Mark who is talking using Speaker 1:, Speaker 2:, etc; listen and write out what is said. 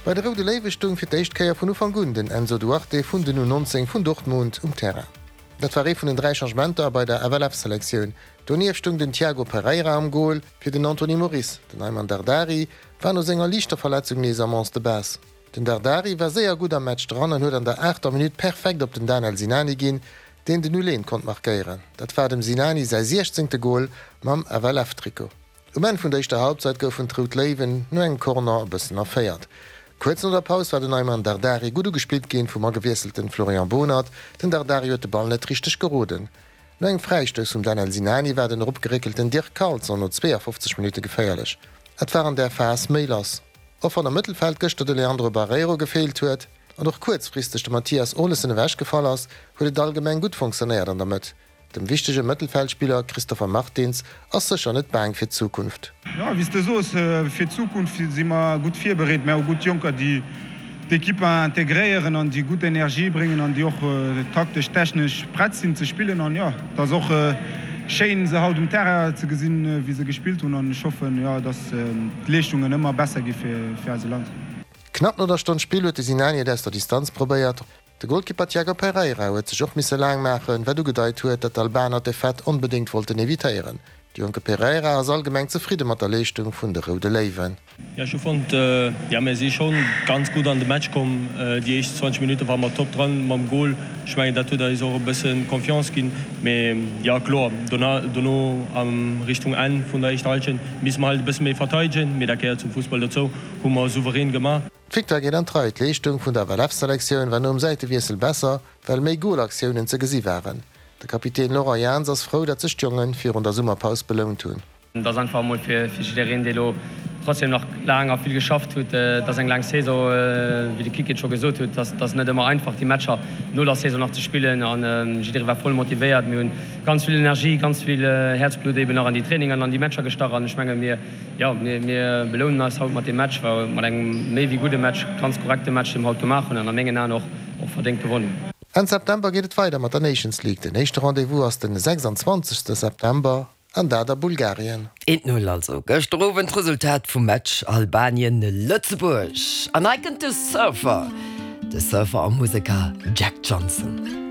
Speaker 1: Bei de Roude Léiwe stoung fir d'éischt Kéier vun Ufank un den Enzo Duarte vun den U19 vun Dortmund um Terrain. Dat war ee vun den 3 Changementer bei der FLF-Selektioun. Donieft stoung den Tiago Pereira am Gol fir den Anthony Moris. Den Ayman Dardari war no senger liichter Verletzung nees am Onze de Base. Den Dardari war séier gutt am Match dran an huet an der aachter Minutt perfekt op den Danel Sinani ginn, deen den Uleen konnt markéieren. Dat war dem Sinani säi siechzéngte Gol mam FLF-Trikot. Um Enn vun der éischter Halbzeit goufen d'Rout Léiwen no engem Corner e bëssen erféiert. Kuerz no der Paus war den Ayman Dardari gutt ugespillt ginn vum agewiesselten Florian Bohnert. Den Dardari huet de Ball net richteg geroden. No engem Fräistouss vum Danel Sinani war den eropgeréckelten Dirk Carlson no 52 Minutte geféierlech. Et war an där Phas méi lass. Och wann am Mëttelfeld gëschter de Leandro Barreiro gefeelt huet an och kuerzfristeg de Mathias Olesen ewechgefall ass, huet et allgemeng gutt fonctionnéiert an der Mëtt. Dem wichtege Mëttelfeldspiller Christopher Martins ass sécher net baang fir d'Zukunft.
Speaker 2: Jo, wéi s de soos, fir d'Zukunft si mer gutt virbereet. Mir hu gutt Jonker, déi d'Ekipp integréieren an déi gutt Energie bréngen an déi och taktesch, technesch prett sinn ze spillen. An jo, et ass och schéin, se haut um Terrain ze gesinn, wéi se gespillt hunn. An ech hoffen, jo, dass d'Leeschtungen ëmmer besser gi fir eise Land.
Speaker 1: Knapp no der Stonn Spill huet de Sinani et aus der Distanz probéiert. De Golkipper Tiago Pereira huet sech och misse laang maachen, wat ugedeit huet, datt d'Albaner d'Defaite onbedéngt wollten evitéieren. De jonke Pereira ass allgemeng zefridde mat der Leeschtung vun de Roude Léiwen.
Speaker 3: Jo, ech hu fonnt, jo mir si schonn ganz gutt an de Match komm. Déi éischt 20 Minutte ware mer top dran mam Gol. Ech mengen dat huet eis och e bësse Confiance ginn. Mee jo kloer, dono a Richtung Enn vun der éischter Hallschent misse mer halt e bësse méi verteidegen. Mee dat gehéiert zum Fussball dozou, hu mer souverän gemaach.
Speaker 1: D'Victoire geet an d'Rei. D'Leeschtung vun der FLF-Selektioun war nom Säitewiessel besser, well méi Golaktiounen ze gesi waren. De Kapitän Laurent Jans ass frou, datt sech d'Jonge virun der Summerpaus belount hunn.
Speaker 4: Et ass einfach emol fir jiddereen, dee lo trotzdem nach laang a vill geschafft huet. Et ass eng laang Saison, wéi de Kiki et scho gesot huet. Et ass net ëmmer einfach, déi Matcher no der Saison nach ze spillen. A jidderee war voll motivéiert. Mir hunn ganz vill Energie, ganz vill Häerzblutt eben nach an déi Trainingen an an déi Matcher gestach. An ech menge mir Jo, mir belounen eis haut mat deem Match, war mat engem méi wéi gudde Match, ganz korrekte Match, dee mer haut gemaach hunn an a mengen Aen och och verdéngt gewonnen hunn.
Speaker 1: Enn September geet et weider mat der Nations League. Den éischte Rendez-vous ass den 26 September an dat a Bulgarien.
Speaker 5: Eent Null also gëschter Owend d'Resultat vum Match Albanien-Lëtzebuerg. An hei kënnt de Surfer, de Surfer a Museker Jack Johnson.